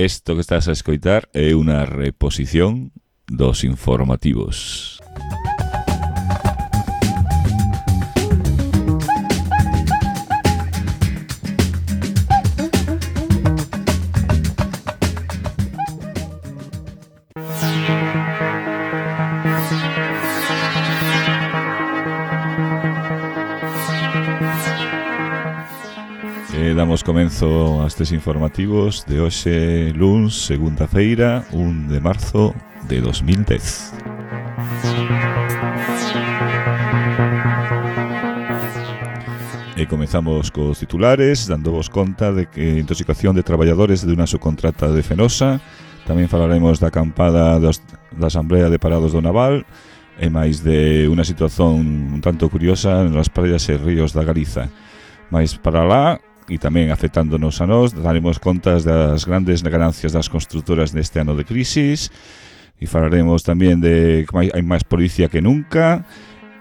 Isto que estás a escoitar é unha reposición dos informativos. Damos comenzo a estes informativos de hoxe, luns, segunda feira, 1 de marzo de 2010. E comezamos cos titulares, dándovos conta de que intoxicación de traballadores de unha subcontrata de Fenosa. Tamén falaremos da acampada da Asamblea de Parados do Naval e máis de unha situación un tanto curiosa nas praias e ríos da Galiza. Mais para lá, e tamén afectándonos a nós, daremos contas das grandes ganancias das constructoras neste ano de crisis e falaremos tamén de que hai máis policía que nunca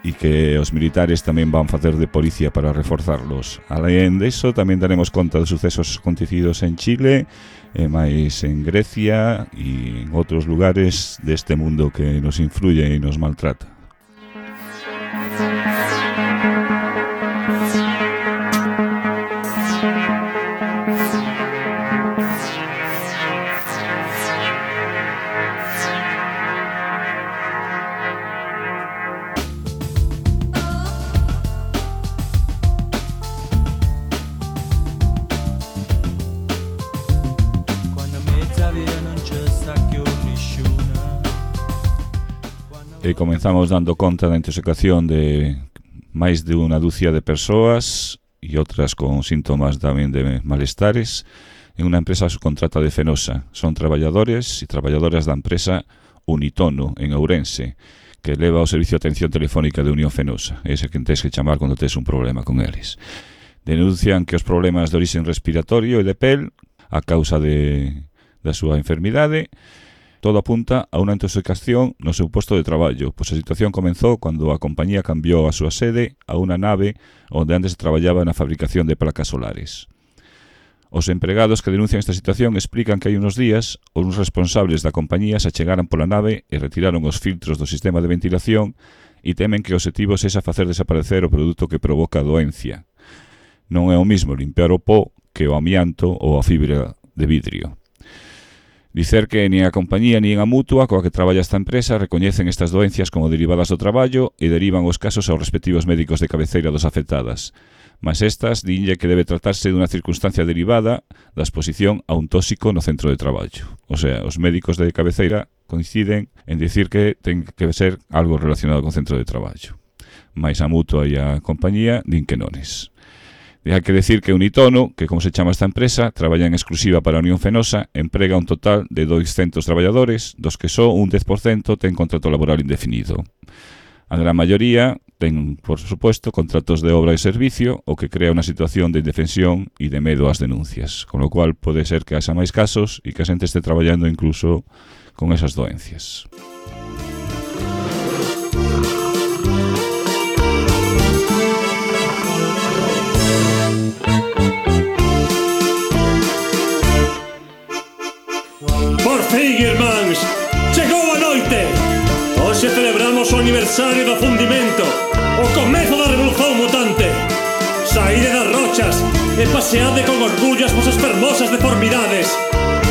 e que os militares tamén van facer de policía para reforzarlos. Alén disso, tamén daremos conta dos sucesos acontecidos en Chile e máis en Grecia e en outros lugares deste mundo que nos influye e nos maltrata. E comenzamos dando conta da intoxicación de máis de unha dúcia de persoas e outras con síntomas tamén de malestares en unha empresa subcontrata de Fenosa. Son traballadores e traballadoras da empresa Unitono en Ourense, que leva o servicio de atención telefónica de Unión Fenosa. Ese que tens que chamar cando tes un problema con eles. Denuncian que os problemas de origen respiratorio e de pel a causa da súa enfermidade. Todo apunta a unha intoxicación no seu posto de traballo, pois a situación comenzou cando a compañía cambiou a súa sede a unha nave onde antes traballaba na fabricación de placas solares. Os empregados que denuncian esta situación explican que hai unos días os responsables da compañía se achegaran pola nave e retiraron os filtros do sistema de ventilación e temen que o objetivo sexa facer desaparecer o produto que provoca a doencia. Non é o mismo limpiar o pó que o amianto ou a fibra de vidrio. Dicer que nin a compañía nin a mutua coa que traballa esta empresa recoñecen estas doencias como derivadas do traballo e derivan os casos aos respectivos médicos de cabeceira dos afectadas. Mas estas dinlle que debe tratarse dunha circunstancia derivada da exposición a un tóxico no centro de traballo. O sea, os médicos de cabeceira coinciden en dicir que ten que ser algo relacionado con centro de traballo. Mais a mutua e a compañía din que nones. Hai que decir que Unitono, que como se chama esta empresa, traballa en exclusiva para a Unión Fenosa, emprega un total de 200 traballadores, dos que só un 10% ten contrato laboral indefinido. A gran maioría ten, por suposto, contratos de obra e servicio, o que crea unha situación de indefensión e de medo ás denuncias, con lo cual pode ser que haxa máis casos e que a xente este traballando incluso con esas doencias. Por fin, irmáns, chegou a noite. Hoxe celebramos o aniversario do fundimento, o comezo da revolución mutante. Saíde das rochas e paseade con orgullo as vosas fermosas deformidades,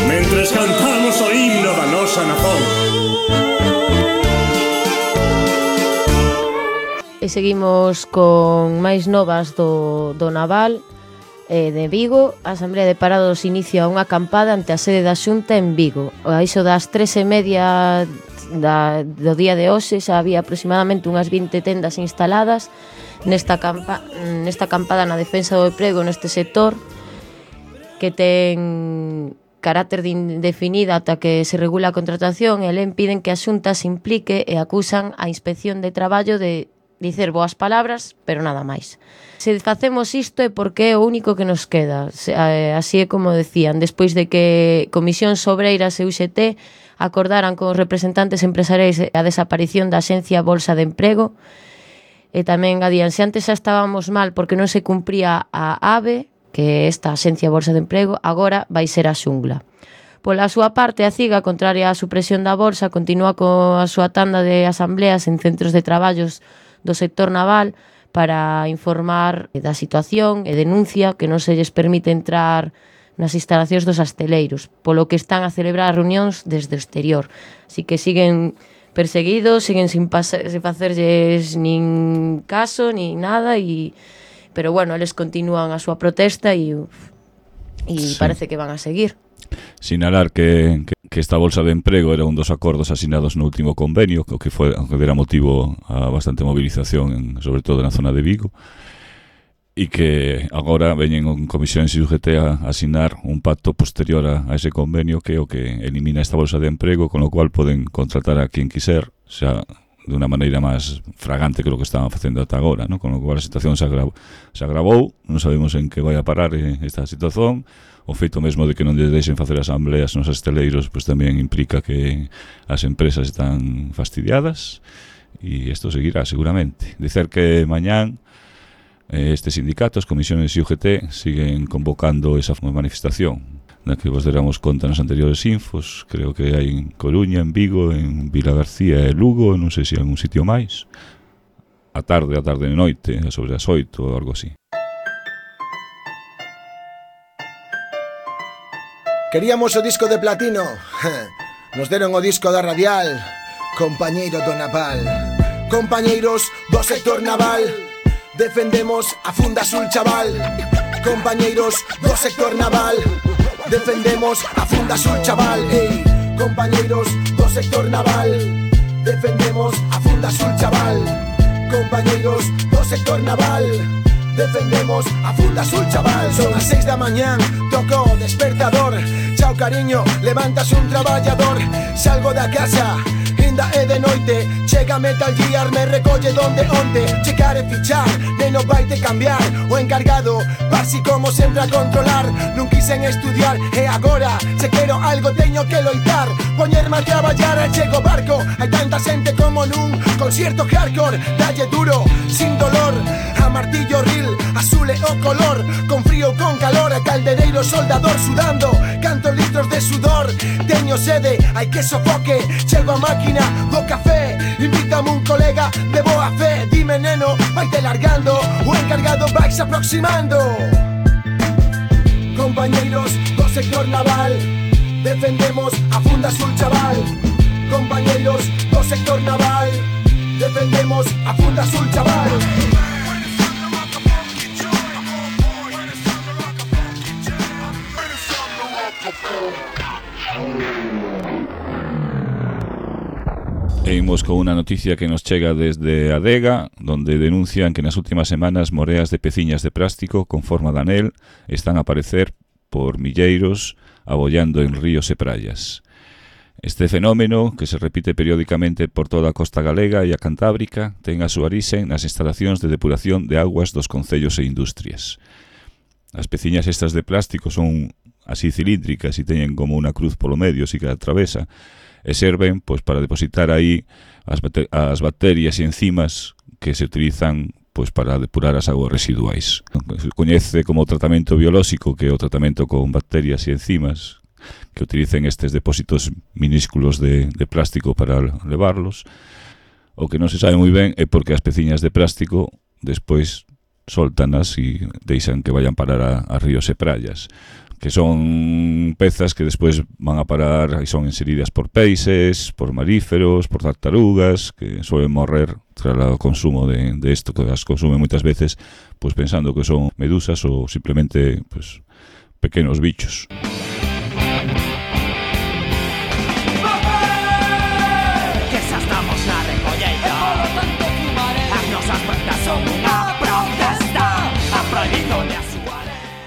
mentres cantamos o himno da nosa nazón. E seguimos con máis novas do Naval. De Vigo, a Asamblea de Parados inicia unha acampada ante a sede da Xunta en Vigo. A iso das 3:30 do día de hoxe xa había aproximadamente unhas 20 tendas instaladas nesta acampada na defensa do emprego neste sector, que ten carácter de indefinida ata que se regula a contratación, e len piden que a Xunta se implique e acusan a Inspección de Traballo de dicer boas palabras, pero nada máis. Se facemos isto é porque é o único que nos queda. Así é como decían, despois de que Comisións Obreiras e UGT acordaran con os representantes empresariais a desaparición da Axencia Bolsa de Emprego, e tamén adían, se antes xa estábamos mal porque non se cumpría a AVE, que é esta Axencia Bolsa de Emprego, agora vai ser a xungla. Pola súa parte, a CIGA, contraria á supresión da bolsa, continúa coa súa tanda de asambleas en centros de traballos do sector naval para informar da situación e denuncia que non se lles permite entrar nas instalacións dos asteleiros, polo que están a celebrar reunións desde o exterior. Así que siguen perseguidos, siguen sin facerlles nin caso, nin nada, pero bueno, eles continúan a súa protesta e sí, parece que van a seguir. Sinalar que esta bolsa de emprego era un dos acordos asinados no último convenio, que dera motivo a bastante movilización, sobre todo na zona de Vigo, e que agora veñen en comisión en UGT a asinar un pacto posterior a ese convenio que é o que elimina esta bolsa de emprego, con lo cual poden contratar a quien quiser, xa de unha maneira máis fragante que o que estaban facendo ata agora, ¿no? Con lo cual a situación se agravou, non sabemos en que vai a parar esta situación. O feito mesmo de que non lles deixen facer asambleas nos asteleiros pois tamén implica que as empresas están fastidiadas e isto seguirá seguramente. Dicer que mañán estes sindicatos, comisiones e UGT siguen convocando esa manifestación na que vos deramos conta nas anteriores infos. Creo que hai en Coruña, en Vigo, en Vilagarcía e Lugo, non sei se hai un sitio máis. A tarde e noite, sobre as 8 ou algo así. Queríamos o disco de platino. Nos deron o disco da radial. Compañeiro do naval, compañeiros do sector naval, defendemos a Funda Azul, chaval. Compañeiros do sector naval, defendemos a Funda Azul, chaval. Compañeiros do sector naval, defendemos a Funda Azul, chaval. Compañeiros do sector naval, defendemos a Funda Azul, chaval. Son as 6 da mañán, toco o despertador. Chao cariño, levantas un traballador. Salgo da casa, ainda é de noite. Chega Metal Gear, me recolle donde onte. Checar e fichar, neno vaite cambiar. O encargado, pasi como sempre a controlar. Non quixen estudiar e agora se quero algo teño que loitar. Poñerme a traballar e chego barco. Hai tanta xente como nun concierto hardcore. Dalle duro, sin dolor, a martillo ril, azul e o color. Con frío, con calor, a caldereiro soldador sudando. Cantos litros de sudor, teño sede, hai que sofoque. Chego a máquina do café, invítame un colega de boa fe. Dime neno, vaite largando, o encargado vais aproximando. Compañeiros do sector naval, defendemos a Funda Azul, chaval. Compañeiros do sector naval, defendemos a Funda Azul, chaval. E imos con unha noticia que nos chega desde Adega, donde denuncian que nas últimas semanas moreas de peciñas de plástico con forma de anel están a aparecer por milleiros abollando en ríos e praias. Este fenómeno, que se repite periódicamente por toda a costa galega e a cantábrica, ten a súa orixe nas instalacións de depuración de augas dos concellos e industrias. As peciñas estas de plástico son así cilíndricas e teñen como unha cruz polo medio, así que atravesa, e serven pois para depositar aí as bacterias e enzimas que se utilizan pois para depurar as augas residuais. Se coñece como tratamento biolóxico, que é o tratamento con bacterias e enzimas que utilicen estes depósitos minúsculos de plástico para levarlos. O que non se sabe moi ben é porque as peciñas de plástico despois soltanas e deixan que vayan parar a ríos e praias, que son pezas que despois van a parar e son inseridas por peixes, por maríferos, por tartarugas, que suelen morrer tras o consumo de isto, que as consumen moitas veces pues pensando que son medusas ou simplemente pues pequenos bichos.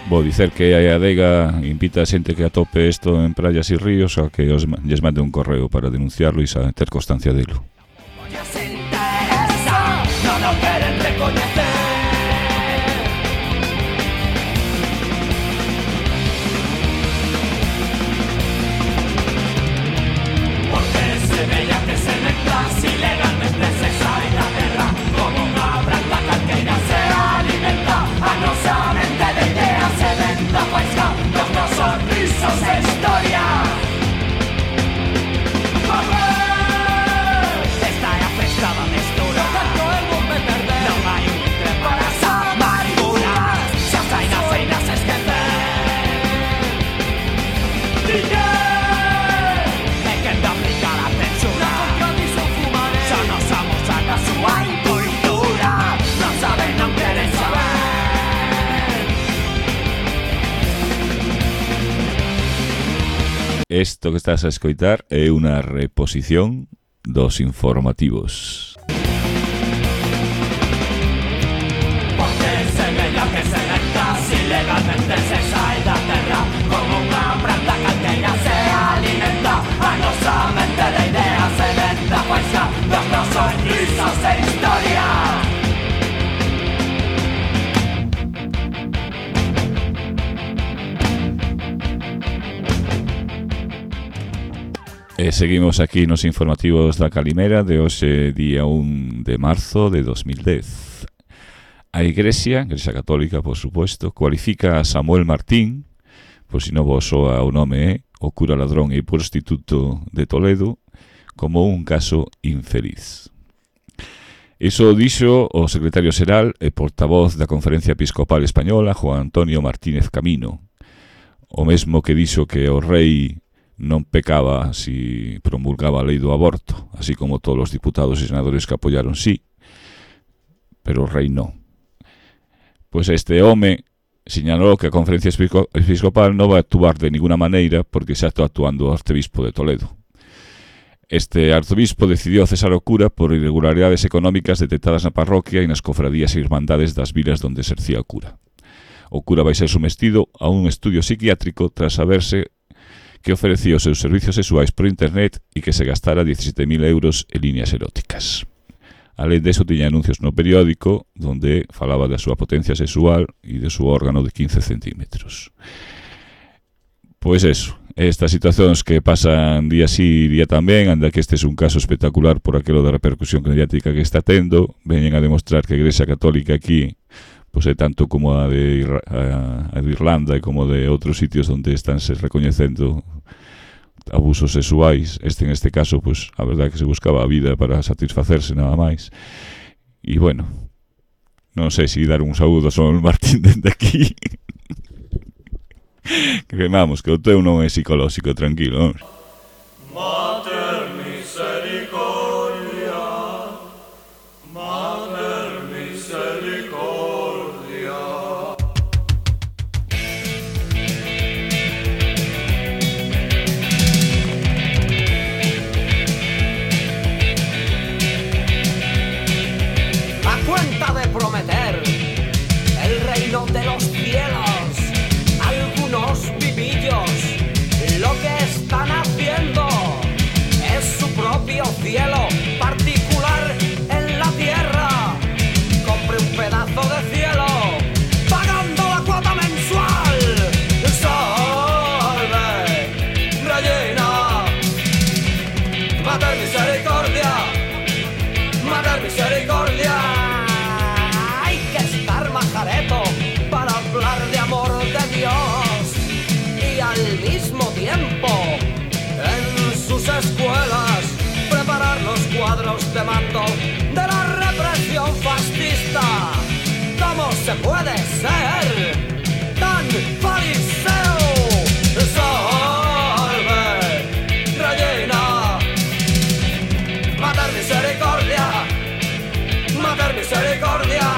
Vou dicer que a Adega invita a xente que atope isto en praias e ríos a que lles mande un correo para denunciarlo e ter constancia delo. Isto que estás a escoitar é unha reposición dos informativos. Porque semella que se meta, si legalmente se sae da terra, como unha planta calqueira se alimenta, a nosa mente de ideas se venta, poisa dos nosos risas e historia. E seguimos aquí nos informativos da Calimera de hoxe, día 1 de marzo de 2010. A Igrexa Católica, por suposto, cualifica a Samuel Martín, por si non vos soa o nome, o cura ladrón e prostituto de Toledo, como un caso infeliz. Iso dixo o secretario xeral e portavoz da Conferencia Episcopal Española, Juan Antonio Martínez Camino, o mesmo que dixo que o rei non pecaba si promulgaba a lei do aborto, así como todos os diputados e senadores que apoyaron sí, pero o rei non. Pois este home señalou que a Conferencia Episcopal non vai actuar de ninguna maneira porque xa está actuando o arcebispo de Toledo. Este arzobispo decidiu cesar o cura por irregularidades económicas detectadas na parroquia e nas cofradías e irmandades das vilas donde exercía o cura. O cura vai ser sometido a un estudio psiquiátrico tras saberse que ofrecía os seus servicios sexuais por internet e que se gastara 17.000 euros en líneas eróticas. Alén deso, tiña anuncios no periódico donde falaba da súa potencia sexual e do seu órgano de 15 centímetros. Pois eso, estas situacións que pasan día sí, día tamén, anda que este é un caso espectacular por aquilo da repercusión mediática que está tendo, veñen a demostrar que a Igrexa Católica aquí pois é tanto como a de Irlanda e como de outros sitios onde estánse recoñecendo abusos sexuais. En este caso, pois, a verdade que se buscaba a vida para satisfacerse nada máis. E, bueno, non sei se dar un saúdo a Samuel Martín dende aquí. Que vamos, que o teu non é psicolóxico, tranquilo, vamos. Mater misericordia, Mater misericordia. A cuenta de prometer el reino de los cielos, algunos vivillos lo que están haciendo es su propio cielo particular en la tierra. Compre un pedazo de cielo pagando la cuota mensual. Salve, Regina, Mater misericordia, Mater misericordia. Hay que estar majareto para hablar de amor de Dios y al mismo tiempo en sus escuelas preparar los cuadros de mando de la represión fascista. ¿Cómo se puede ser tan fariseo? Salve, Regina, Mater misericordia, Mater misericordia.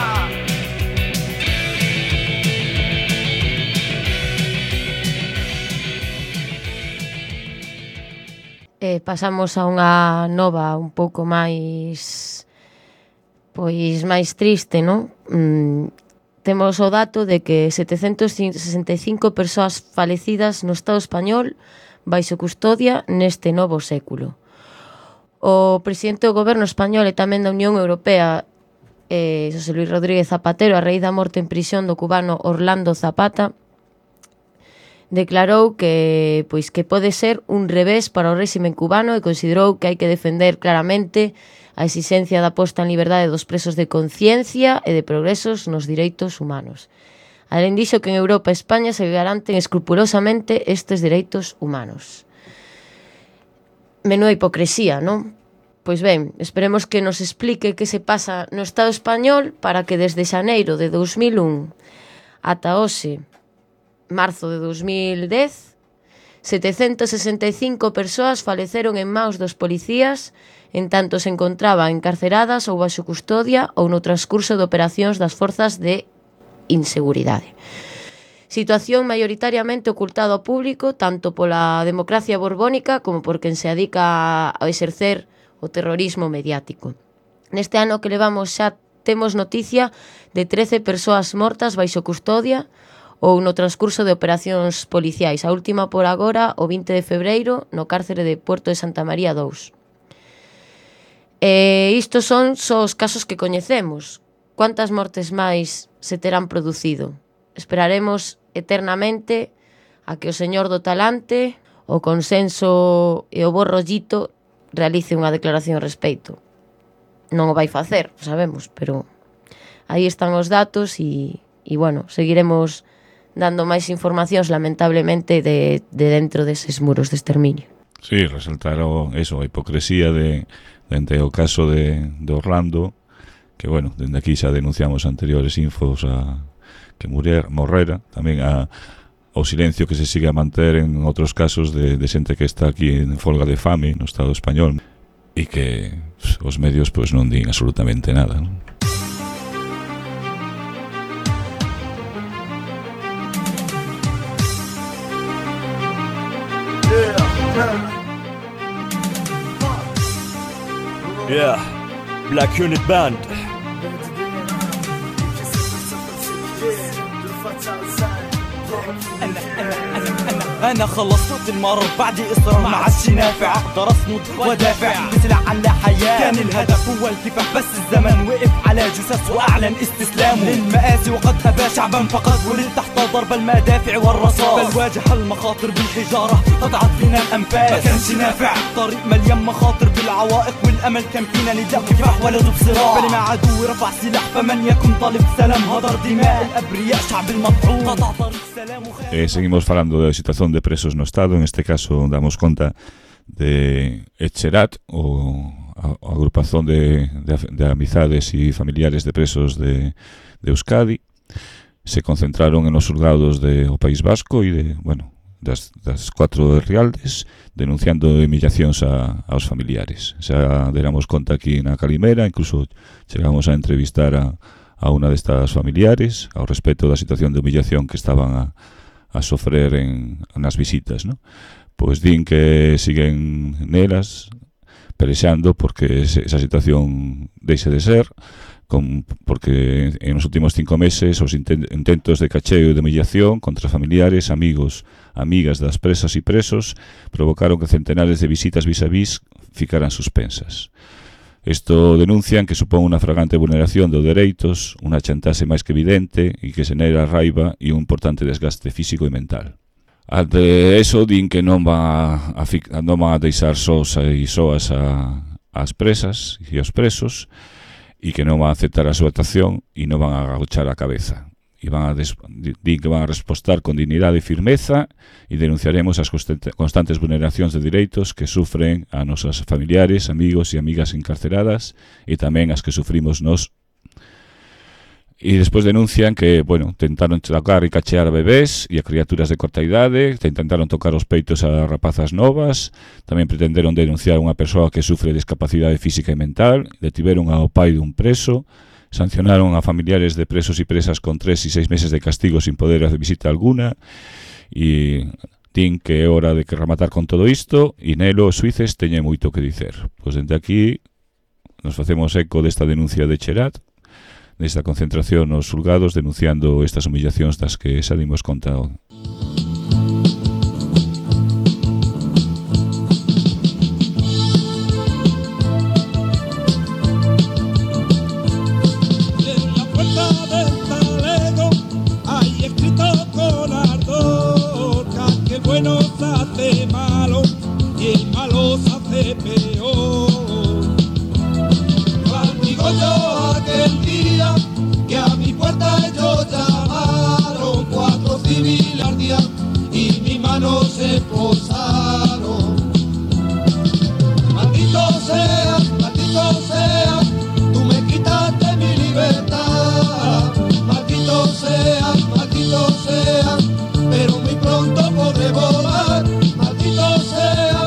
Pasamos a unha nova un pouco máis máis triste, non? Temos o dato de que 765 persoas falecidas no Estado español baixo custodia neste novo século. O presidente do goberno español e tamén da Unión Europea, José Luis Rodríguez Zapatero, a raíz da morte en prisión do cubano Orlando Zapata, declarou que pode ser un revés para o réxime cubano e considerou que hai que defender claramente a exixencia da posta en liberdade dos presos de conciencia e de progresos nos direitos humanos. Alén dixo que en Europa e España se garanten escrupulosamente estes direitos humanos. Menúa hipocresía, non? Pois ben, esperemos que nos explique que se pasa no Estado español para que desde xaneiro de 2001 ata hoxe, marzo de 2010, 765 persoas faleceron en maus dos policías en tanto se encontraban encarceradas ou baixo custodia ou no transcurso de operacións das forzas de inseguridade. Situación maioritariamente ocultada ao público tanto pola democracia borbónica como por quen se dedica a exercer o terrorismo mediático. Neste ano que levamos xa temos noticia de 13 persoas mortas baixo custodia ou no transcurso de operacións policiais. A última por agora, o 20 de febreiro, no cárcere de Puerto de Santa María 2. Istos son só os casos que coñecemos. Quantas mortes máis se terán producido? Esperaremos eternamente a que o señor do talante, o consenso e o bo rollito realice unha declaración ao respecto. Non o vai facer, sabemos, pero aí están os datos e bueno, seguiremos dando máis informacións, lamentablemente, de dentro deses muros de exterminio. Sí, resaltaron eso, a hipocresía dende o caso de Orlando, que, bueno, dende aquí xa denunciamos anteriores infos a que morrera, tamén o silencio que se sigue a manter en outros casos de xente que está aquí en folga de fame no Estado español e que os medios pois non din absolutamente nada, non? Yeah, Black Unit Band. أنا خلصت المرض بعد إصرار ما عادش نافع أقدر أصمد ودافع بسلع عن لا حياة كان الهدف هو الكفاح بس الزمن وقف على جثث وأعلن استسلامه للمآسي وقد أبى شعبا فقد ولد تحت ضرب المدافع والرصاص بل واجه المخاطر بالحجارة قطعت فينا الأنفاس ما كانش نافع طريق مليان مخاطر بالعوائق والأمل كان فينا نداء كفاح ولا ذو بصراع بل مع عدو رفع سلاح فمن يكن طالب سلام هدر دماء الأبرياء شعب المطعون قطع طريق سلام seguimos falando da situación de presos no Estado. En este caso damos conta de Etxerat, a agrupación de amizades e familiares de presos de Euskadi. Se concentraron en los xulgados do País Vasco e das 4 de Rialdes, denunciando humillacións aos familiares. Xa deramos conta aquí na Calimera, incluso chegamos a entrevistar a unha destas familiares ao respecto da situación de humillación que estaban a sofrer nas visitas, ¿no? Pois din que siguen nelas pelexando porque esa situación deixe de ser, porque en os últimos 5 meses os intentos de cacheo e de humillación contra familiares, amigos, amigas das presas e presos provocaron que centenares de visitas vis-a-vis ficaran suspensas. Isto denuncian que supón unha fragante vulneración dos dereitos, unha chantaxe máis que evidente e que xenera raiva e un importante desgaste físico e mental. Ante eso, din que non van a deixar sós e soas as presas e os presos e que non van a aceptar a súa actuación e non van a agachar a cabeza. E din que van a respostar con dignidade e firmeza e denunciaremos as constantes vulneracións de direitos que sufren a nosas familiares, amigos e amigas encarceradas e tamén as que sufrimos nós. E despois denuncian que, tentaron tocar e cachear a bebés e a criaturas de corta idade, intentaron tocar os peitos a rapazas novas, tamén pretenderon denunciar unha persoa que sufre discapacidade física e mental, detiveron ao pai dun preso, sancionaron a familiares de presos e presas con 3 e 6 meses de castigo sin poder hacer visita alguna e din que é hora de que rematar con todo isto e nelo os suíces teñen moito que dicer. Pois dende aquí nos facemos eco desta denuncia de Etxerat, desta concentración nos xulgados denunciando estas humillacións das que xa dimos conta. Bueno se hace malo y el malo se hace peor. Digo yo aquel día que a mi puerta ellos llamaron 4 civiles al día y mi mano se posaron. Maldito sea, tú me quitaste mi libertad. Maldito sea, pero muy pronto podré volar. Maldito sea,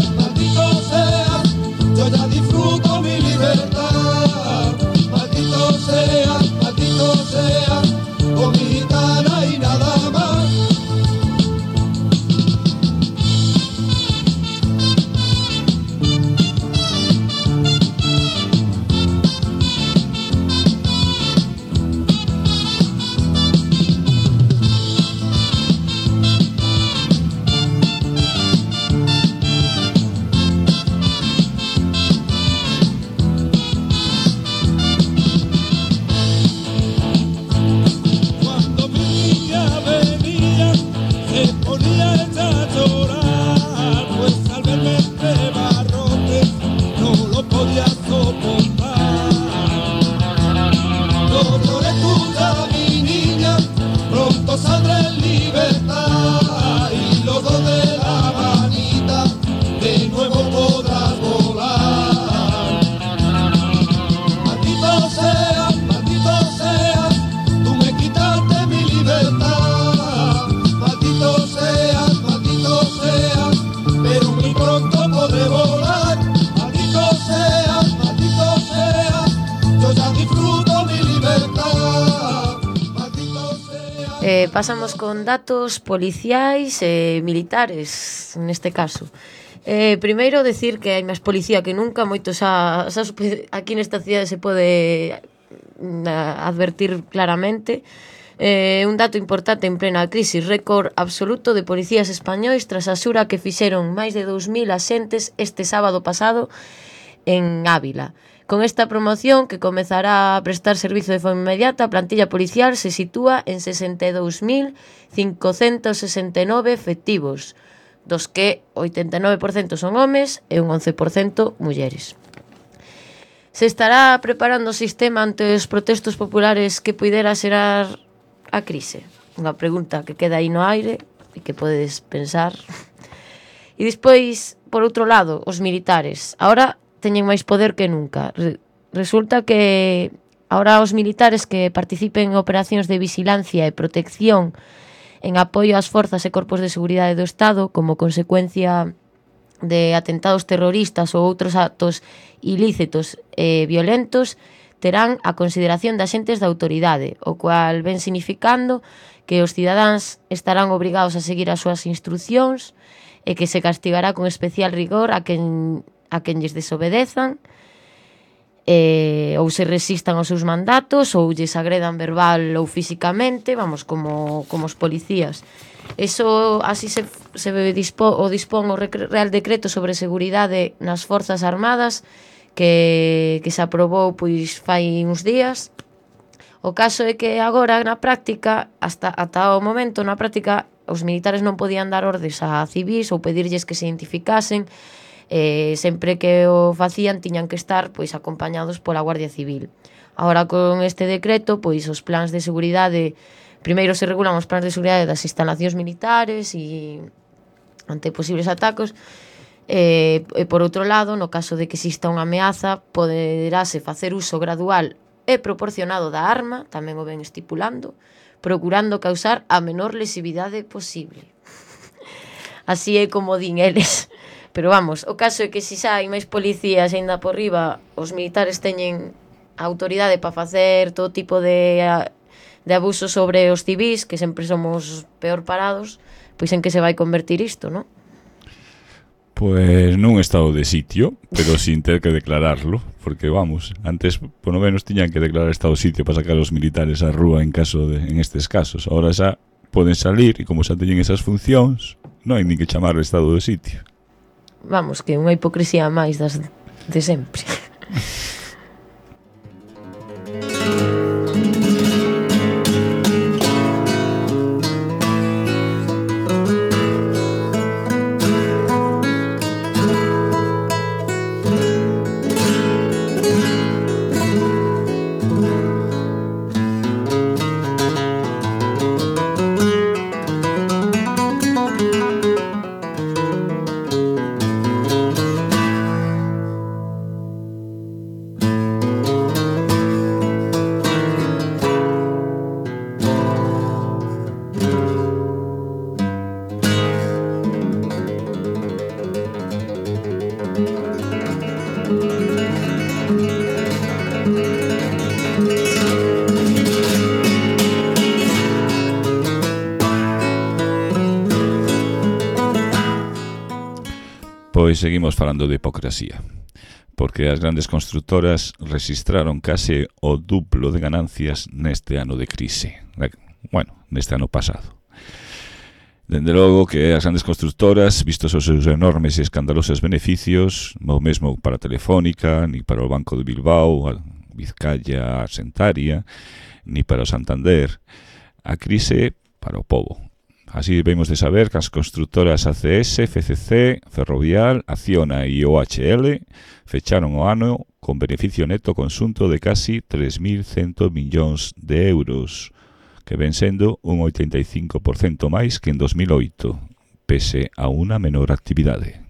yo ya disfruto mi libertad. Maldito sea, con mi gitana y nada más. no podía soportar. No llores tú ya, mi niña, pronto saldré en libertad y los dos de la manita de nuevo podrás volar. Maldito sea, tú me quitaste mi libertad. Maldito sea, pero muy pronto podré volar. Maldito sea, yo ya disfruto mi libertad. Maldito sea. Pasamos con datos policiais e militares, neste caso. Primeiro, decir que hai máis policía que nunca, moitos aquí nesta cidade se pode advertir claramente. Un dato importante en plena crise, récord absoluto de policías españois tras a xura que fixeron máis de 2000 axentes este sábado pasado en Ávila. Con esta promoción, que comezará a prestar servizo de forma inmediata, a plantilla policial se sitúa en 62.569 efectivos, dos que 89% son homes e un 11% mulleres. Se estará preparando o sistema ante os protestos populares que puidera xerar a crise? Unha pregunta que queda aí no aire e que podes pensar. E despois, por outro lado, os militares. Ahora teñen máis poder que nunca. Resulta que ahora os militares que participen en operacións de vigilancia e protección en apoio ás forzas e corpos de seguridade do Estado como consecuencia de atentados terroristas ou outros actos ilícitos e violentos terán a consideración de axentes da autoridade, o cual ven significando que os cidadáns estarán obrigados a seguir as súas instruccións e que se castigará con especial rigor a quen lles desobedezan ou se resistan aos seus mandatos ou lles agredan verbal ou físicamente, vamos, como os policías. Eso así se dispón o Real Decreto sobre seguridade nas Forzas Armadas que se aprobou pois fai uns días. O caso é que agora na práctica, ata o momento na práctica, os militares non podían dar ordes a civís ou pedirlles que se identificasen. Sempre que o facían tiñan que estar pois acompañados pola Guardia Civil. Agora con este decreto, pois os plans de seguridade, primeiro se regulan os plans de seguridade das instalacións militares e ante posibles atacos, e por outro lado, no caso de que exista unha ameaza, poderase facer uso gradual e proporcionado da arma, tamén o ven estipulando, procurando causar a menor lesividade posible. Así é como din eles. Pero vamos, o caso é que se xa hai máis policías aínda por riba, os militares teñen a autoridade para facer todo tipo de abusos sobre os civís, que sempre somos peor parados, pois en que se vai convertir isto, non? Pois nun estado de sitio, pero sin ter que declararlo, porque vamos, antes por lo menos tiñan que declarar estado de sitio para sacar os militares á rúa en estes casos. Ahora xa poden salir e como xa teñen esas funcións, non hai nin que chamar estado de sitio. Vamos, que unha hipocresía máis das de sempre. Pois seguimos falando de hipocresía, porque as grandes constructoras registraron case o duplo de ganancias neste ano de crise. Bueno, neste ano pasado. Dende logo que as grandes constructoras, vistos os seus enormes e escandalosos beneficios, o mesmo para Telefónica, ni para o Banco de Bilbao, a Vizcaya Arxentaria, ni para o Santander, a crise para o pobo. Así debemos de saber que as constructoras ACS, FCC, Ferrovial, Acciona e OHL fecharon o ano con beneficio neto conxunto de casi 3.100 millóns de euros, que ven sendo un 85% máis que en 2008, pese a unha menor actividade.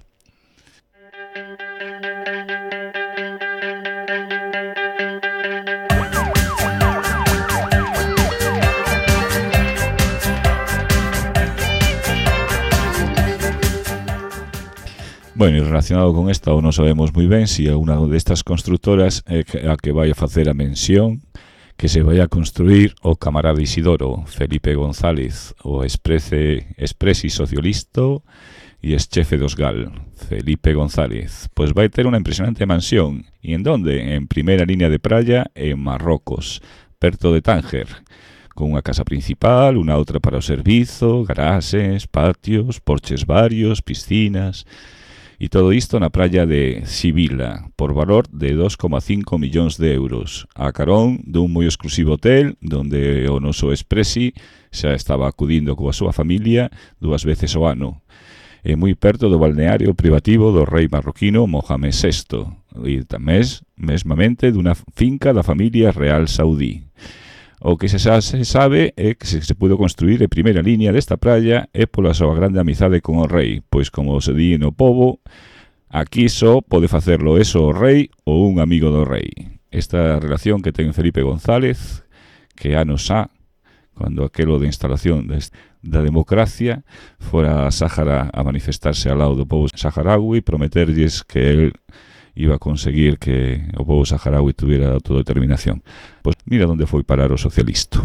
Bueno, e relacionado con esta, non sabemos moi ben se a unha destas constructoras é a que vai a facer a mención que se vai a construir o camarada Isidoro, Felipe González, o expresi socialista e ex-chefe dos GAL, Felipe González. Pois vai ter unha impresionante mansión. E en donde? En primeira línea de praia en Marrocos, perto de Tánger, con unha casa principal, unha outra para o servizo, garaxes, patios, porches varios, piscinas... E todo isto na praia de Sibila, por valor de 2,5 millóns de euros, a carón dun moi exclusivo hotel, donde o noso expresi xa estaba acudindo coa súa familia 2 veces ao ano, e moi perto do balneario privativo do rei marroquino Mohamed VI, e tamén, mesmamente, dunha finca da familia real saudí. O que se sabe é que se pudo construir en primeira línea desta praia é pola súa grande amizade con o rei, pois como se di no pobo, aquí só pode facerlo eso o rei ou un amigo do rei. Esta relación que ten Felipe González, que anos xa, cando aquelo de instalación da democracia, fora a Sáhara a manifestarse ao lado do povo saharaui, prometerlles que el iba a conseguir que o povo saharaui tuviera autodeterminación. Pois mira onde foi parar o socialista.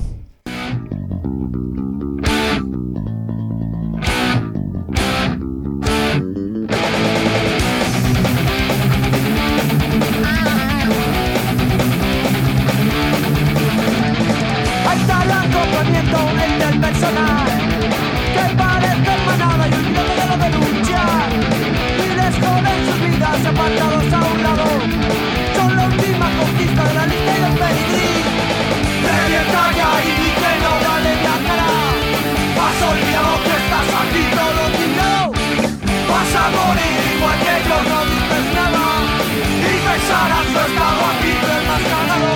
Ahí está el acoplamiento del personal, que parece manada y un miedo de la denuncia. Joden sus vidas apartados a un lado. Son la última conquista de la lista y del pedigrí. Revienta ya y di que no vale la cara. Has olvidado que estás aquí todo tirado. Vas a morir igual que yo, no dices nada. Y pensarás no he estado aquí desmascarado.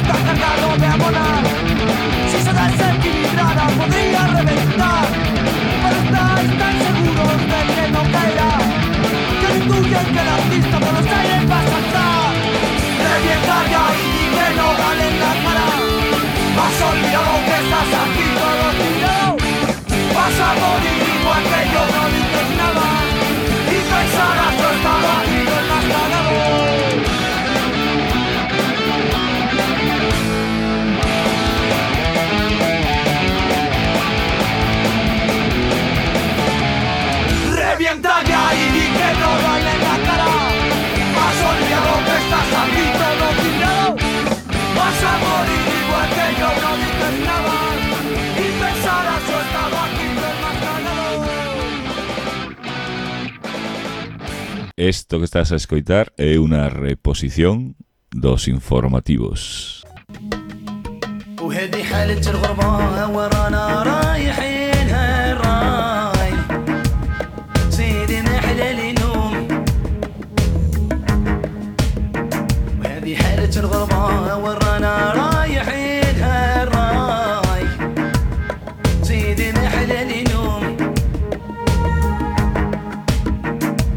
Cargado de abonar. Si se desequilibrara podría reventar. Pero estáis tan seguros de que no caerá, que intuyen que el artista por los aires va a saltar. Revienta ya y di que no vale la cara. Has olvidado que estás aquí todo tirado. Vas a morir igual que yo, no dices nada. Y pensarás yo estaba aquí desmascarado. Revienta ya y di que no vale la cara. Has olvidado que estás aquí todo tirado. Vas a morir igual que yo, no dices nada. Y pensarás yo estaba aquí desmascarado. Isto que estás a escoitar é unha reposición dos informativos. وهذه حالة الغربة ورانا رايحين هالراي سيدي ما حلال نوم وهذه حالة الغربة ورانا رايحين هالراي سيدي ما حلال نوم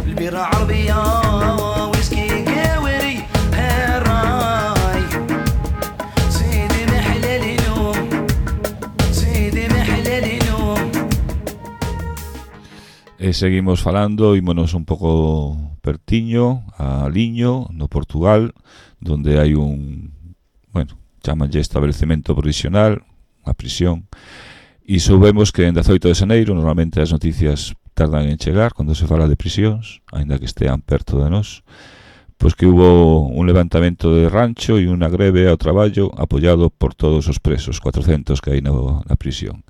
البيرة عربية ويسكي قاوري هالراي سيدي ما حلال نوم سيدي ما حلال نوم. E seguimos falando, ímonos un pouco pertiño a Liño, no Portugal, donde hai un, bueno, chamanlle establecemento provisional, unha prisión, e soubemos que en 18 de xaneiro, normalmente as noticias tardan en chegar cando se fala de prisións, aínda que estean perto de nós, pues que hubo un levantamiento de rancho e unha greve ao traballo apoiado por todos os presos, 400 que hai na prisión.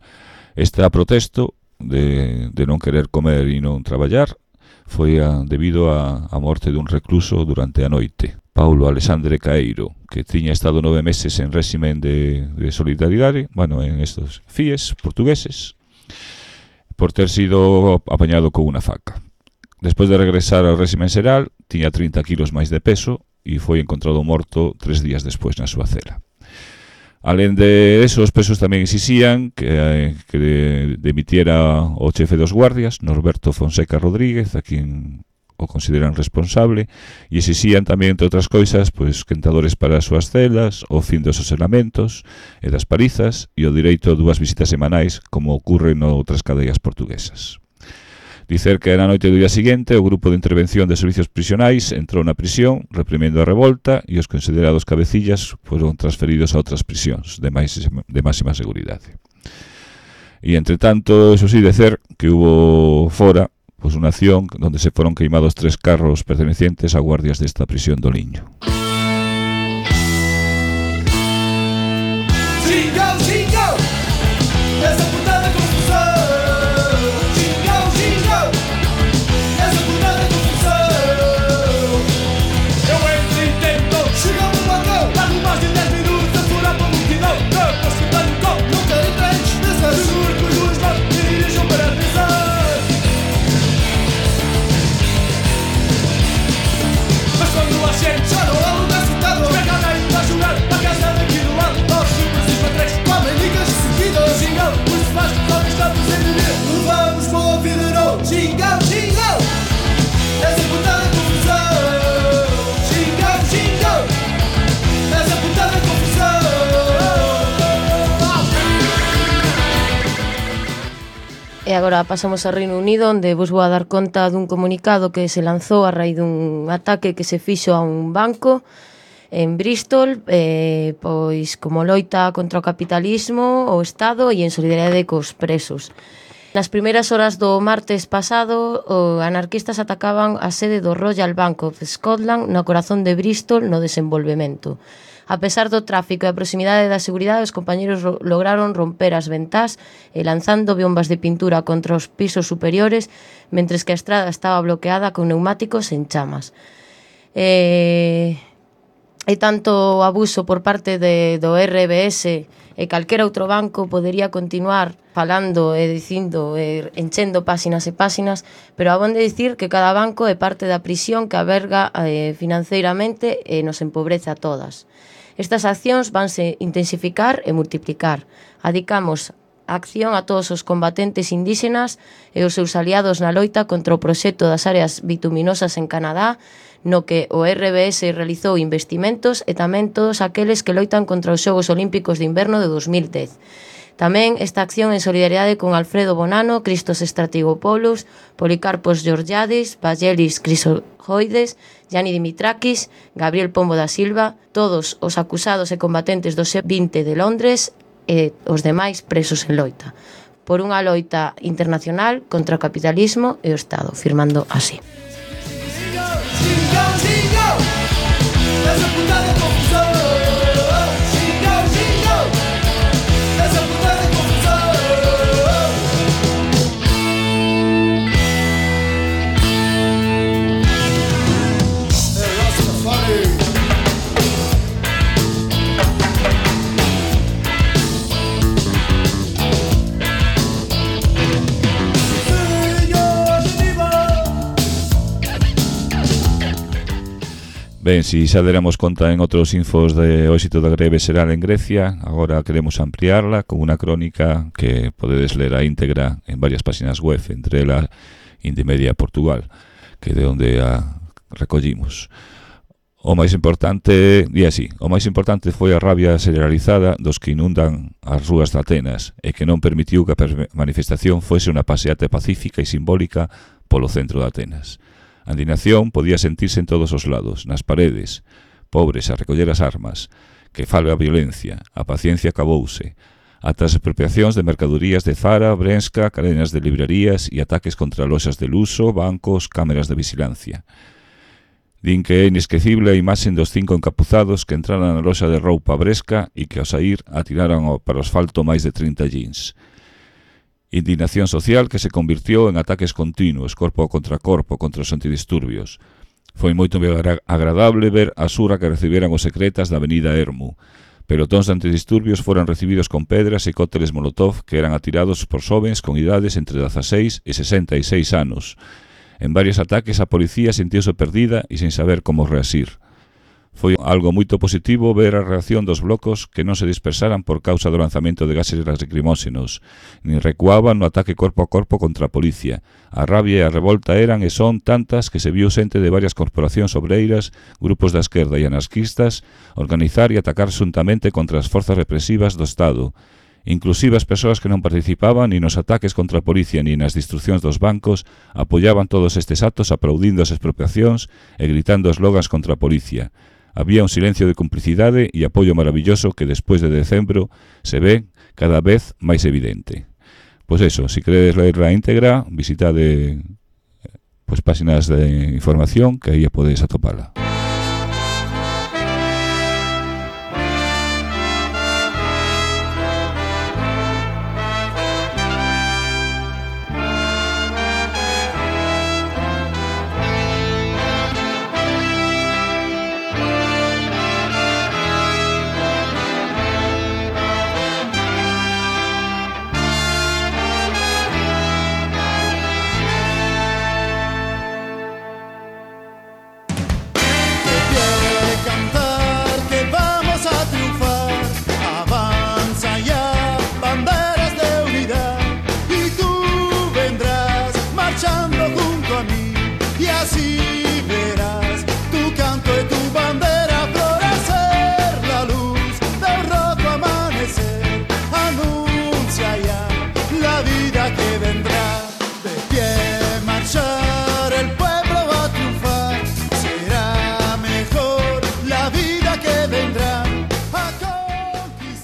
Este protesto de non querer comer e non traballar foi debido a morte dun recluso durante a noite, Paulo Alexandre Caeiro, que tiña estado 9 meses en réximen de solidaridade, en estos FIES portugueses, por ter sido apañado con unha faca. Despois de regresar ao réximen xeral, tiña 30 kilos máis de peso e foi encontrado morto 3 días despois na súa cela. Alén de eso, os presos tamén exixían que demitiera o chefe dos guardias, Norberto Fonseca Rodríguez, a quien o consideran responsable, e exixían tamén, entre outras coisas, quentadores para as súas celas, o fin dos aselamentos e das palizas e o direito a 2 visitas semanais, como ocorre noutras cadeas portuguesas. Dicer que na noite do día seguinte o grupo de intervención de servicios prisionais entrou na prisión reprimendo a revolta e os considerados cabecillas foron transferidos a outras prisións de máxima seguridade. E entre tanto, eso sí, dicer que hubo fora unha acción onde se foron queimados 3 carros pertenecientes a guardias desta prisión do Liño. E agora pasamos ao Reino Unido, onde vos vou a dar conta dun comunicado que se lanzou a raíz dun ataque que se fixo a un banco en Bristol, pois como loita contra o capitalismo, o Estado e en solidariedade cos presos. Nas primeiras horas do martes pasado, os anarquistas atacaban a sede do Royal Bank of Scotland no corazón de Bristol no desenvolvemento. A pesar do tráfico e a proximidade da seguridade, os compañeros lograron romper as ventás e lanzando bombas de pintura contra os pisos superiores, mentres que a estrada estaba bloqueada con neumáticos en chamas. E tanto abuso por parte do RBS e calquera outro banco podería continuar falando e dicindo enchendo páxinas e páxinas, pero abonde dicir que cada banco é parte da prisión que alberga financeiramente e nos empobrece a todas. Estas accións vanse intensificar e multiplicar. Adicamos a acción a todos os combatentes indígenas e os seus aliados na loita contra o proxecto das áreas bituminosas en Canadá, no que o RBS realizou investimentos e tamén todos aqueles que loitan contra os Xogos Olímpicos de Inverno de 2010. Tamén esta acción en solidariedade con Alfredo Bonano, Christos Stratigopoulos, Policarpos Georgiadis, Vangelis Chrysochoides, Gianni Dimitrakis, Gabriel Pombo da Silva, todos os acusados e combatentes do G20 de Londres e os demais presos en loita, por unha loita internacional contra o capitalismo e o Estado, firmando así. Ben, si xa deramos conta en outros infos de o éxito da greve xeral en Grecia, agora queremos ampliarla con unha crónica que podedes ler a íntegra en varias páxinas web, entre ela Indymedia Portugal, que de onde a recollimos. O máis importante foi a rabia generalizada dos que inundan as rúas de Atenas e que non permitiu que a manifestación fose unha paseata pacífica e simbólica polo centro de Atenas. A indignación podía sentirse en todos os lados, nas paredes, pobres a recoller as armas, que falga a violencia, a paciencia acabouse, ata as expropiacións de mercadorías de Zara, Brenska, cadenas de librerías e ataques contra loxas de luxo, bancos, cámaras de vigilancia. Din que é inesquecible a imaxe dos 5 encapuzados que entraran na loxa de roupa Bresca e que ao saír atiraran para o asfalto máis de 30 jeans. Indignación social que se convirtió en ataques continuos, corpo contra os antidisturbios. Foi moito agradable ver a sura que reciberan os secretas da avenida Ermu. Pelotóns de antidisturbios foran recibidos con pedras e cócteles molotov que eran atirados por xovens con idades entre 16 e 66 anos. En varios ataques a policía sentiuse perdida e sen saber como reasir. Foi algo moito positivo ver a reacción dos blocos que non se dispersaran por causa do lanzamento de gases lacrimóxenos, nin recuaban no ataque corpo a corpo contra a policía. A rabia e a revolta eran e son tantas que se viu xente de varias corporacións obreiras, grupos da esquerda e anarquistas, organizar e atacar xuntamente contra as forzas represivas do Estado. Inclusive as persoas que non participaban ni nos ataques contra a policía ni nas destruccións dos bancos apoiaban todos estes actos aplaudindo as expropiacións e gritando eslogans contra a policía. Había un silencio de complicidade e apoio maravilloso que despois de decembro se ve cada vez máis evidente. Pois eso, se queredes ler a íntegra, visitade páxinas de información que aí podedes atopala.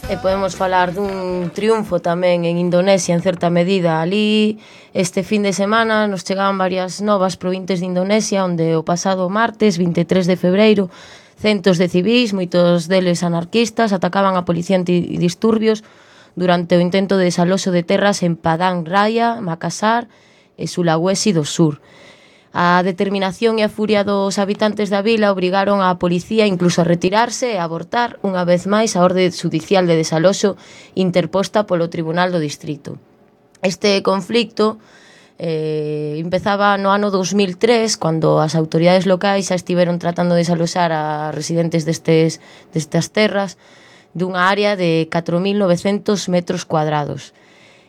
E podemos falar dun triunfo tamén en Indonesia en certa medida. Ali este fin de semana nos chegaban varias novas provintes de Indonesia onde o pasado martes 23 de febreiro centos de civís, moitos deles anarquistas, atacaban a policía antidisturbios durante o intento de desaloxo de terras en Padang Raya, Makassar e Sulawesi do Sur. A determinación e a furia dos habitantes da vila obrigaron á policía incluso a retirarse e a abortar unha vez máis a orde judicial de desaloxo interposta polo Tribunal do Distrito. Este conflicto empezaba no ano 2003, cando as autoridades locais xa estiveron tratando de desaloxar a residentes destas terras dunha área de 4.900 metros cuadrados.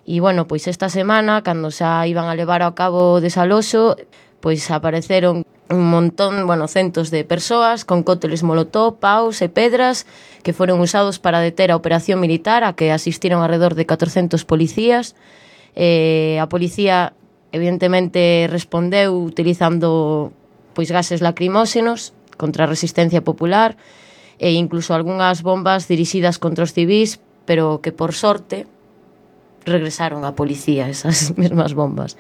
E, bueno, pois esta semana, cando xa iban a levar a cabo o desaloxo, pois apareceron un montón, centos de persoas con cócteles molotov, paus e pedras que foron usados para deter a operación militar a que asistiron alrededor de 400 policías. A policía, evidentemente, respondeu utilizando gases lacrimóxenos contra a resistencia popular e incluso algunhas bombas dirixidas contra os civís, pero que, por sorte, regresaron a policía esas mesmas bombas.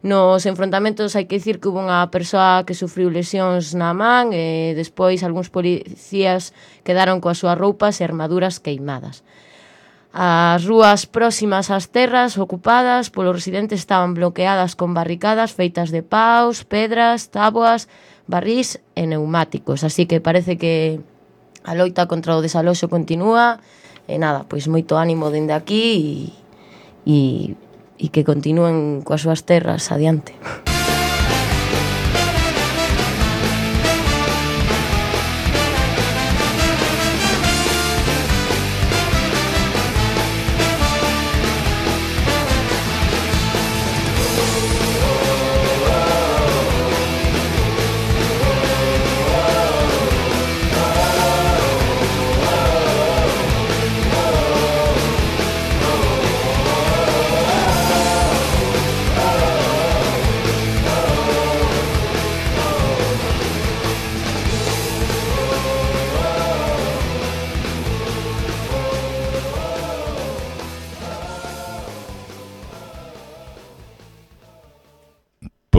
Nos enfrontamentos hai que dicir que hubo unha persoa que sufriu lesións na man e despois algúns policías quedaron coas súas roupas e armaduras queimadas. As rúas próximas ás terras ocupadas polos residentes estaban bloqueadas con barricadas feitas de paus, pedras, táboas, barrís e neumáticos, así que parece que a loita contra o desaloxo continúa e nada, pois moito ánimo dende aquí e que continúen coas súas terras adiante.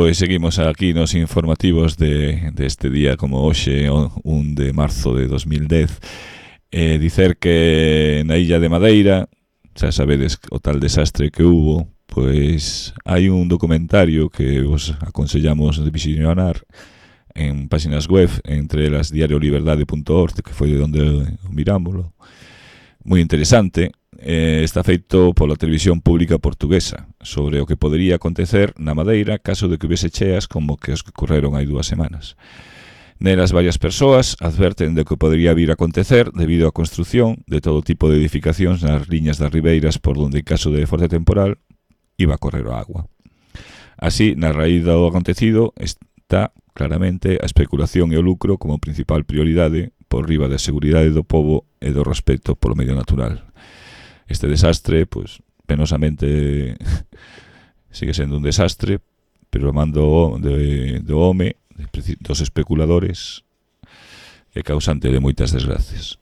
Pois seguimos aquí nos informativos de este día como hoxe, 1 de marzo de 2010. Dicer que na illa de Madeira, xa sabedes o tal desastre que hubo, pois hai un documentario que vos aconsellamos de visionar en páxinas web, entre elas diarioliberdade.org, que foi de onde mirámoslo. Moi interesante. Está feito pola televisión pública portuguesa sobre o que podería acontecer na Madeira caso de que hubiese cheas como que os que ocorreron hai 2 semanas. Nelas varias persoas adverten de que podería vir a acontecer debido á construción de todo tipo de edificacións nas liñas das ribeiras por onde en caso de forte temporal iba a correr o agua. Así, na raíz do acontecido está claramente a especulación e o lucro como principal prioridade por riba da seguridade do pobo e do respeto polo medio natural. Este desastre, pois, penosamente sigue sendo un desastre, pero a mando do home, dos especuladores, é causante de moitas desgracias.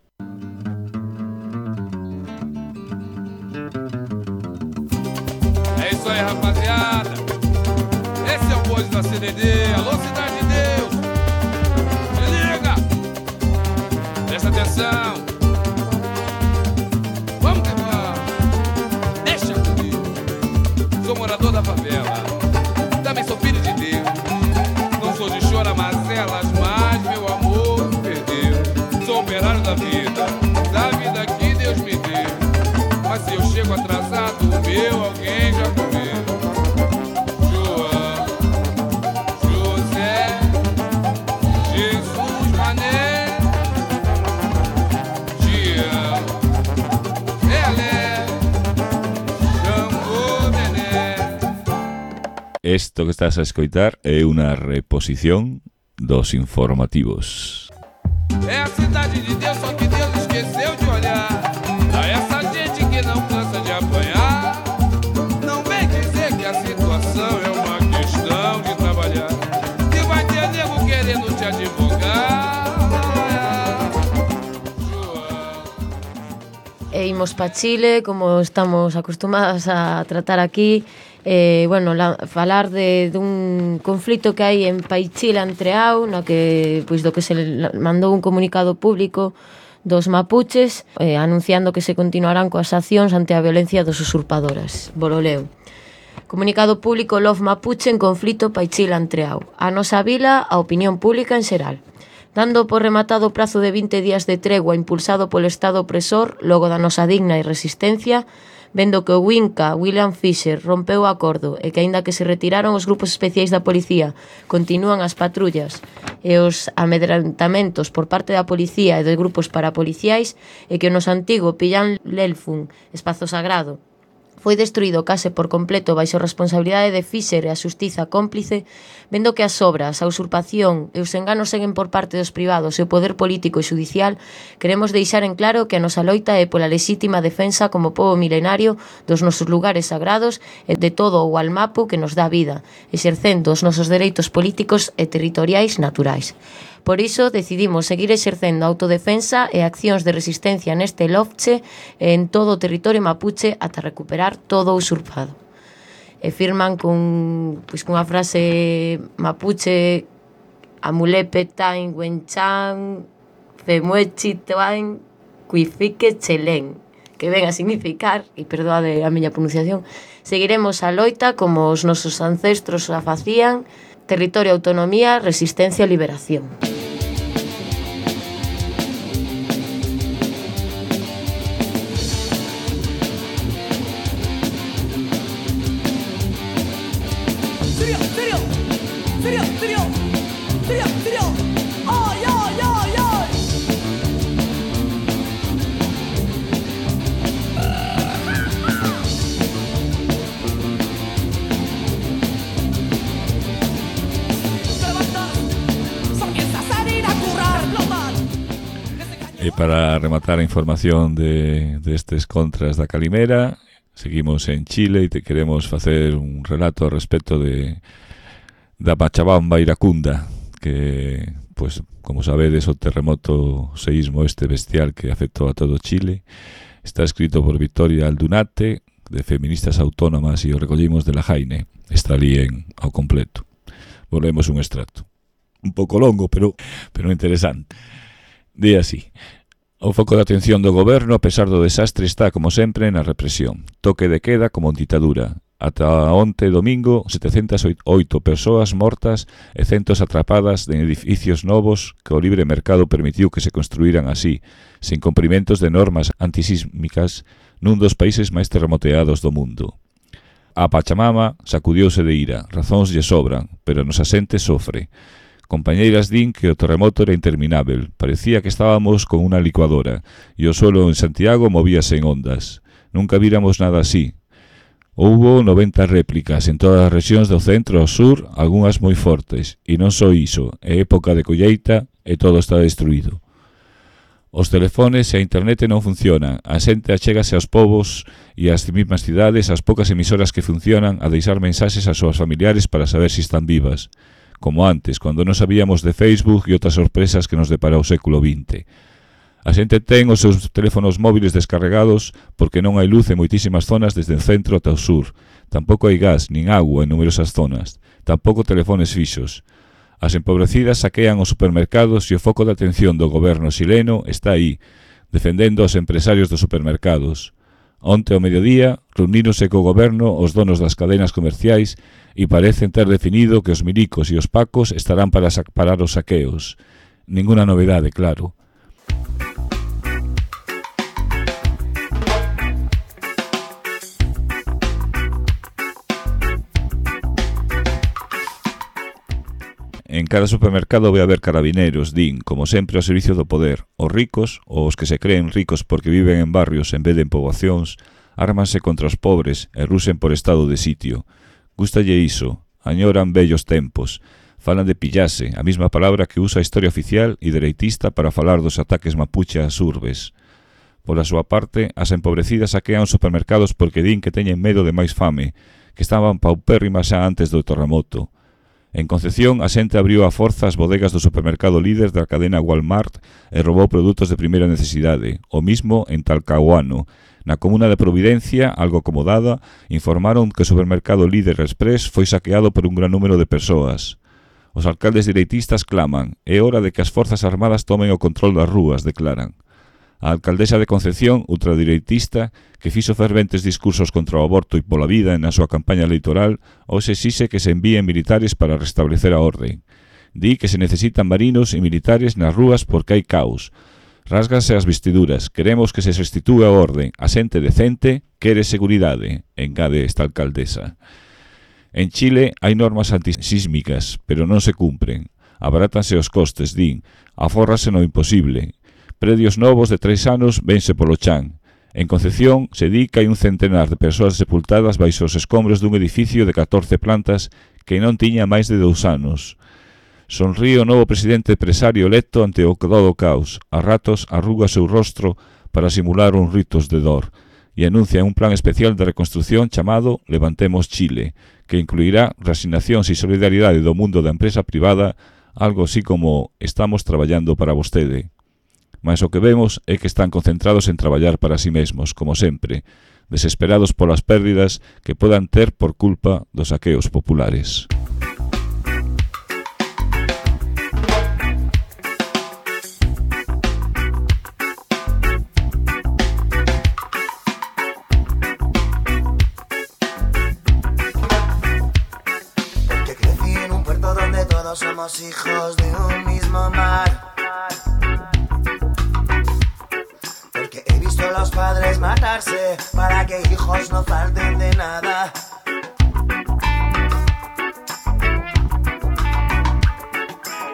É isso aí, rapaziada. Esse é o Bois da CDD. Alô, Cidade de Deus. Se liga. Presta atenção. Morador da favela, também sou filho de Deus. Não sou de chora-mazelas, mas meu amor me perdeu. Sou operário da vida que Deus me deu. Mas se eu chego atrasado, o meu alguém já comeu. João, José, Jesus, Mané, Tião, Pelé, Xangô, Nené. Esto que estás a escoitar é unha reposición dos informativos. É a cidade de Deus, só que Deus esqueceu de olhar pra essa gente que não cansa de apanhar. Não vem dizer que a situação é uma questão de trabalhar, que vai ter nego querendo te advogar. E imos pa Chile, como estamos acostumadas a tratar aquí. Falar dun conflito que hai en Paichila Entreao, no que, pois, do que se mandou un comunicado público dos mapuches anunciando que se continuarán coas accións ante a violencia dos usurpadoras. Bololeo. Comunicado público Love Mapuche en conflito Paichila Entreao. A nosa vila, a opinión pública en xeral. Dando por rematado o prazo de 20 días de tregua impulsado polo Estado opresor, logo da nosa digna e resistencia, vendo que o Winca, William Fisher, rompeu o acordo e que, aínda que se retiraron os grupos especiais da policía, continúan as patrullas e os amedrantamentos por parte da policía e dos grupos parapoliciais, e que o noso antigo Pillan Lelfun, espazo sagrado, foi destruído case por completo baixo responsabilidade de Fisher e a xustiza cómplice, vendo que as obras, a usurpación e os enganos seguen por parte dos privados e o poder político e xudicial, queremos deixar en claro que a nosa loita é pola lexítima defensa como pobo milenario dos nosos lugares sagrados e de todo o almapo que nos dá vida, exercendo os nosos dereitos políticos e territoriais naturais. Por iso decidimos seguir exercendo autodefensa e accións de resistencia neste lofche e en todo o territorio mapuche ata recuperar todo o usurpado. E firman cunha frase mapuche: amulepe tain wenchan femuechi tain cuifique chelén, que ven a significar, e perdoade a miña pronunciación, seguiremos a loita como os nosos ancestros a facían, territorio, autonomía, resistencia, liberación. E para rematar a información de estes contras da Calimera, seguimos en Chile e te queremos facer un relato ao respecto da Pachabamba iracunda, que, pois, como sabedes, o terremoto, o seísmo este bestial que afectou a todo Chile, está escrito por Victoria Aldunate, de Feministas Autónomas, e o recollimos de la Jaine, está ali ao completo. Volvemos un extracto. Un pouco longo, pero interesante. Di así: o foco de atención do goberno, a pesar do desastre, está, como sempre, na represión. Toque de queda como en ditadura. Ata onte domingo, 708 persoas mortas e centos atrapadas en edificios novos que o libre mercado permitiu que se construíran así, sin cumprimentos de normas antisísmicas, nun dos países máis terremoteados do mundo. A Pachamama sacudiouse de ira, razóns lle sobran, pero nos asente sofre. Compañeiras din que o terremoto era interminável, parecía que estábamos con unha licuadora, e o suelo en Santiago movíase en ondas. Nunca víramos nada así. Houbo 90 réplicas en todas as rexións do centro ao sur, algunhas moi fortes, e non só iso, é época de colleita e todo está destruído. Os telefones e a internet non funcionan, a xente achégase aos povos e ás mesmas cidades, as poucas emisoras que funcionan, a deixar mensaxes ás súas familiares para saber se están vivas. Como antes, cando non sabíamos de Facebook e outras sorpresas que nos depara o século XX. A xente ten os seus teléfonos móviles descarregados porque non hai luz en moitísimas zonas desde o centro ata o sur. Tampouco hai gas nin agua en numerosas zonas. Tampouco telefones fixos. As empobrecidas saquean os supermercados e o foco de atención do goberno xileno está aí, defendendo aos empresarios dos supermercados. Onte ao mediodía, reunírose co goberno os donos das cadenas comerciais e parecen ter definido que os milicos e os pacos estarán para parar os saqueos. Ninguna novedade, claro. En cada supermercado vai haber carabineros, din, como sempre, ao servicio do poder. Os ricos, ou os que se creen ricos porque viven en barrios en vez de en poboacións, ármanse contra os pobres e rusen por estado de sitio. Gústalle iso, añoran vellos tempos. Falan de pillase, a mesma palabra que usa a historia oficial e dereitista para falar dos ataques mapuche ás urbes. Pola súa parte, as empobrecidas saquean os supermercados porque din que teñen medo de máis fame, que estaban paupérrimas xa antes do terremoto. En Concepción, a xente abriu a forza as bodegas do supermercado líder da cadena Walmart e roubou produtos de primeira necesidade. O mismo en Talcahuano. Na comuna de Providencia, algo acomodada, informaron que o supermercado líder Express foi saqueado por un gran número de persoas. Os alcaldes direitistas claman: é hora de que as forzas armadas tomen o control das rúas, declaran. A alcaldesa de Concepción, ultradireitista, que fixo ferventes discursos contra o aborto e pola vida na súa campaña electoral, hoxe exixe que se envíen militares para restablecer a orde. Di que se necesitan marinos e militares nas rúas porque hai caos. Rásganse as vestiduras, queremos que se restitúe a orde, a xente decente quere seguridade, engade esta alcaldesa. En Chile hai normas antisísmicas, pero non se cumpren. Abarátanse os costes, din, afórrase no imposible. Predios novos de 3 anos vense polo chan. En Concepción se di que hai un centenar de persoas sepultadas baixo os escombros dun edificio de 14 plantas que non tiña máis de 2 anos. Sonríe o novo presidente empresario electo ante o todo caos. A ratos arruga seu rostro para simular uns ritos de dor e anuncia un plan especial de reconstrucción chamado Levantemos Chile, que incluirá reasignacións e solidaridade do mundo da empresa privada, algo así como estamos traballando para vostede. Mas o que vemos é que están concentrados en traballar para si mesmos, como sempre, desesperados polas pérdidas que podan ter por culpa dos saqueos populares. Porque crecí en un puerto donde todos somos hijos de un mismo mar. He visto a los padres matarse para que hijos no falten de nada.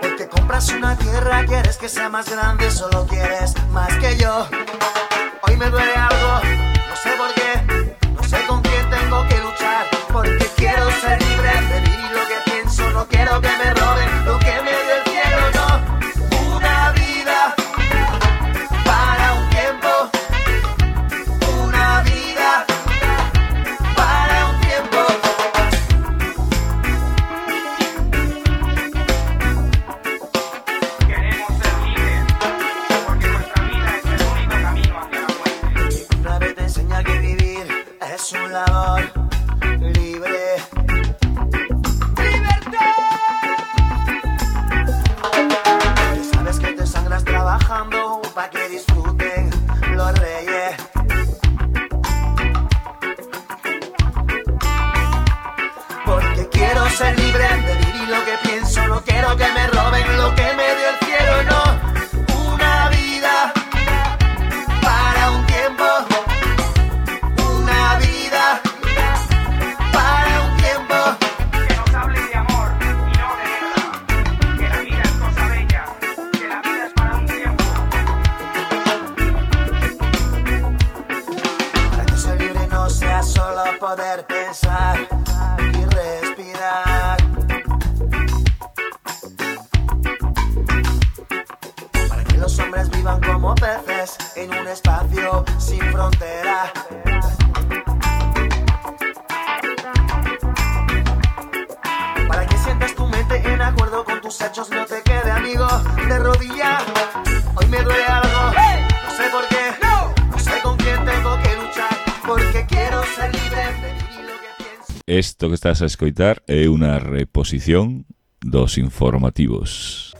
Porque compras una tierra, quieres que sea más grande, solo quieres más que yo. Hoy me duele algo, no sé por qué, no sé con quién tengo que luchar. Porque quiero ser libre de vivir lo que pienso, no quiero que me roben lo que me dio el cielo, no. Una vida para un tiempo. Un labor libre. ¡Libertad! pa' que disfruten los reyes. Porque quiero ser libre de vivir lo que pienso, no quiero que me roben lo que me dio el cielo, no. Una vida para un tiempo, una vida para un tiempo. Que nos hable de amor y no de guerra, que la vida es cosa bella, que la vida es para un tiempo. Para que ser libre no sea solo poder pensar y respirar. Para que los hombres vivan como peces en un espacio sin frontera. Para que sientas tu mente en acuerdo con tus hechos, no te quede amigo de rodillas. Hoy me duele algo, no sé por qué, no sé con quién tengo que luchar, porque quiero ser libre de vivir lo que pienso. Isto que estás a escoitar é unha reposición dos informativos.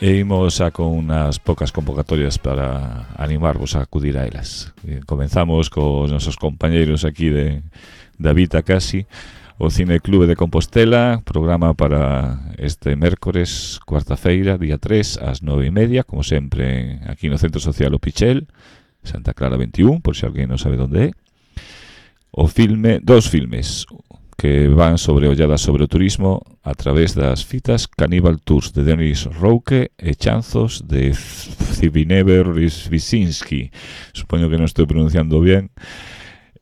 E imos a con unhas poucas convocatorias para animarvos a acudir a elas. Comenzamos cos nosos compañeiros aquí de Vita Casi, o Cine Clube de Compostela, programa para este mércores, cuarta-feira, día 3, ás 9:30, como sempre, aquí no Centro Social O Pichel, Santa Clara 21, por se alguén non sabe onde é. Dos filmes que van sobre olladas sobre o turismo a través das fitas Cannibal Tours de Denis Rouque e Chanzos de Zbigniew Wyszynski. Supoño que non estou pronunciando bien.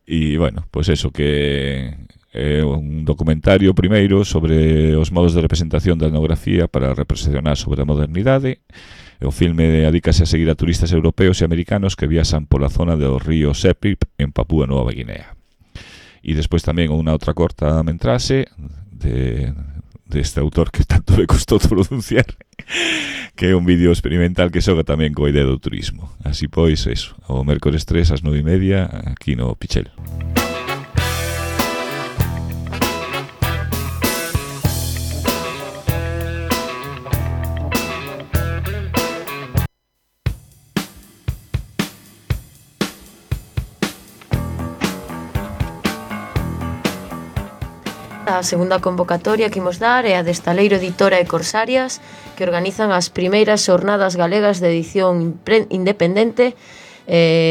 E, bueno, pois eso, que é un documentario primeiro sobre os modos de representación da etnografía para representar sobre a modernidade. O filme adícase a seguir a turistas europeos e americanos que viaxan pola zona do río Sepik en Papúa Nova Guinea. E despois tamén unha outra corta metraxe deste autor que tanto me costou pronunciar, que é un vídeo experimental que xoga tamén coa idea do turismo. Así pois, eso, o mércores 3 ás 9:30 aquí no Pichel. A segunda convocatoria que imos dar é a de Estaleiro Editora e Corsarias, que organizan as primeiras xornadas galegas de edición independente.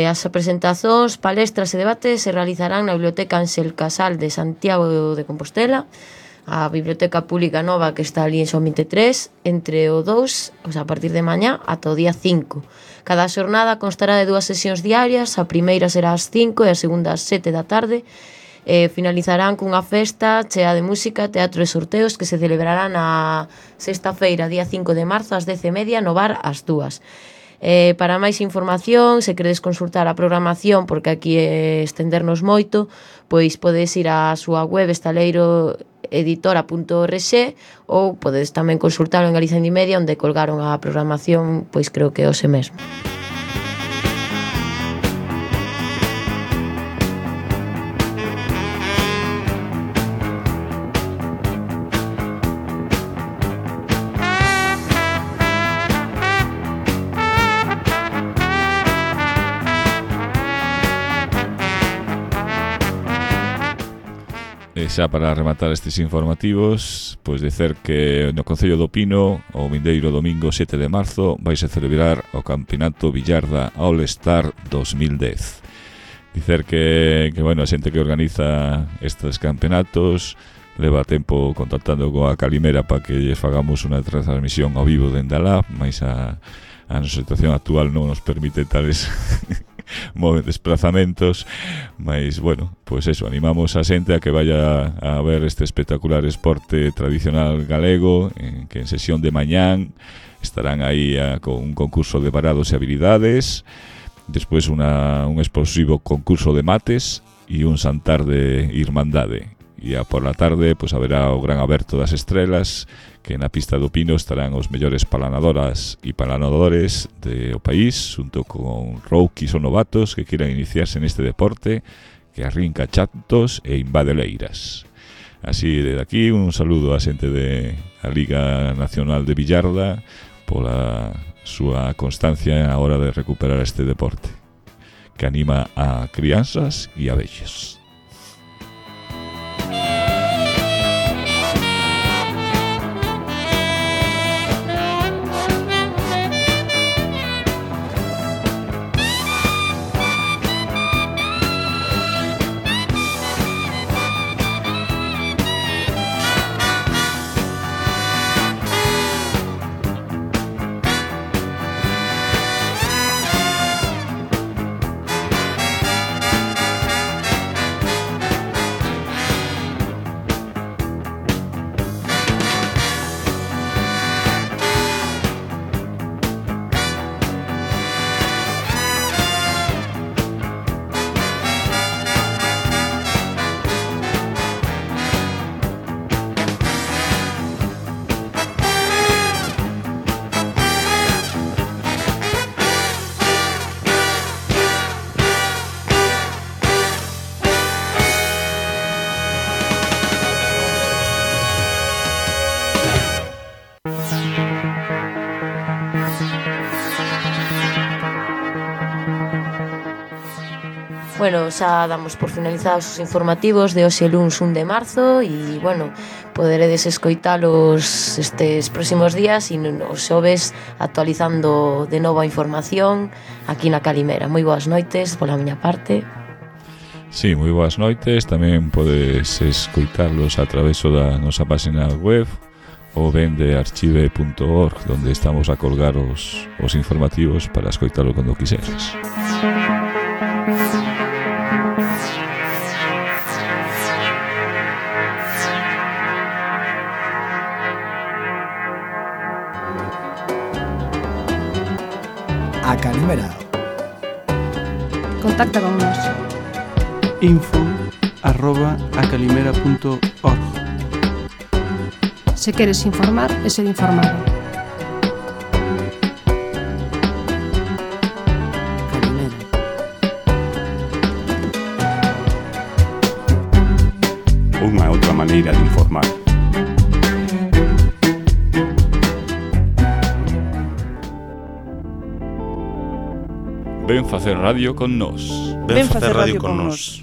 As presentacións, palestras e debates se realizarán na Biblioteca Ángel Casal de Santiago de Compostela, a Biblioteca Pública Nova que está ali en Son 23, entre o 2, a partir de mañá, ata o día 5. Cada xornada constará de 2 sesións diarias, a primeira será ás 5 e a segunda ás 7 da tarde. Finalizarán cunha festa chea de música, teatro e sorteos que se celebrarán a sexta-feira, día 5 de marzo, ás 10:30 no bar ás 2. Para máis información, se queredes consultar a programación, porque aquí estendernos moito, pois podedes ir á súa web estaleiroeditora.org ou podedes tamén consultalo en Galicia Indimedia, onde colgaron a programación, pois creo que hoxe mesmo. Xa para rematar estes informativos, pois dicer que no Concello do Pino, o vindeiro domingo 7 de marzo, vais a celebrar o Campeonato Villarda All Star 2010. Dicer que bueno, a xente que organiza estes campeonatos leva tempo contactando coa Calimera para que lles fagamos unha transmisión ao vivo dende alá, mas a nosa situación actual non nos permite tales desplazamentos, mas bueno, pois eso, animamos a xente a que vaya a ver este espectacular esporte tradicional galego, que en sesión de mañán estarán aí con un concurso de parados e habilidades, despois un explosivo concurso de mates e un xantar de irmandade. E por la tarde pois haberá o gran aberto das estrelas, que na pista do Pino estarán os mellores palanadoras e palanadores do país, junto con rouquis ou novatos que quieran iniciarse neste deporte, que arrinca chatos e invade leiras. Así, desde aquí, un saludo á xente da Liga Nacional de Billarda pola súa constancia a hora de recuperar este deporte que anima a crianzas e a vellas. Bueno, xa damos por finalizados os informativos de hoxe luns 1 de marzo e, bueno, poderedes escoitalos estes próximos días e os xoves actualizando de novo a información aquí na Calimera. Moi boas noites pola miña parte. Sí, moi boas noites. Tamén podes escoitarlos a través da nosa página web ou ben de archive.org, donde estamos a colgar os informativos para escoitalo cando quiseres. A Calimera. Contacta con nos. info@acalimera.org. Se queres informar e ser informado. Calimera. Unha outra maneira de informar. Ven facer radio con nós. Ven facer radio con nós.